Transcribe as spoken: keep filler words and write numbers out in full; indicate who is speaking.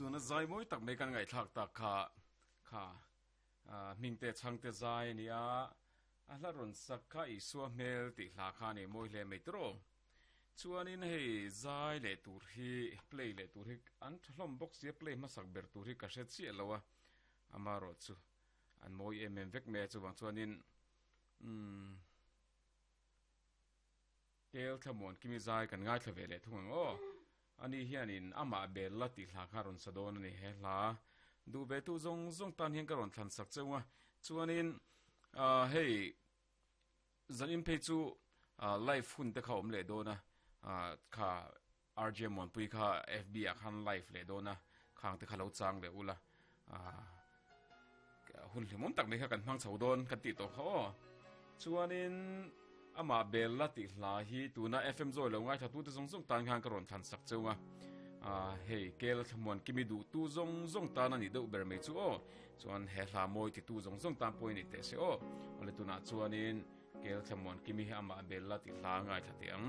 Speaker 1: Tuna zai mawi tak mai kan ngaihthlak tak kha kha Hmingte chhangte zai a nia, a hla rawn sak kha Isua hmel tih hla kha a nei mawi hle mai tawh. Chuanin hei zai leh tur hi play leh tur hi an tha hlawm bawk sia, play hmasak ber tur hi ka hre chiah lo a, amarawh chu an mawi em em vek mai a, chuvang chuanin umm Kel Thlamuan Kimi zai kan ngaithla ve leh thung ang aw. Ani hianin amah bel la tih hla kha a rawn sa dawn a ni he hla. Duh ve tu zawng zawng tan hian ka rawn thlan sak cheu a, chuanin ah hei zan in phei chu ah live hun te kha awm leh dawn a, ah kha R J Muanpui kha F B ah khan live leh dawn a, khang te kha lo chang leh ula ah hun hlimawm tak mai kha kan hmang chho dawn kan tih tawh kha aw. Chuanin amah bel la tih hla hi tuna F M zawi lo ngaithla tute zawng zawng tan khan ka rawn thlan sak cheu a, ah hei Kel Thlamuan Kimi duh tu zawng zawng tan a nih deuh ber mai chu aw. Chuan he hla mawi ti tu zawng zawng tan pawh i ni teh se aw. Awle tunah chuanin Kel Thlamuan Kimi hi amah bel la tih hla ngaithla teh ang.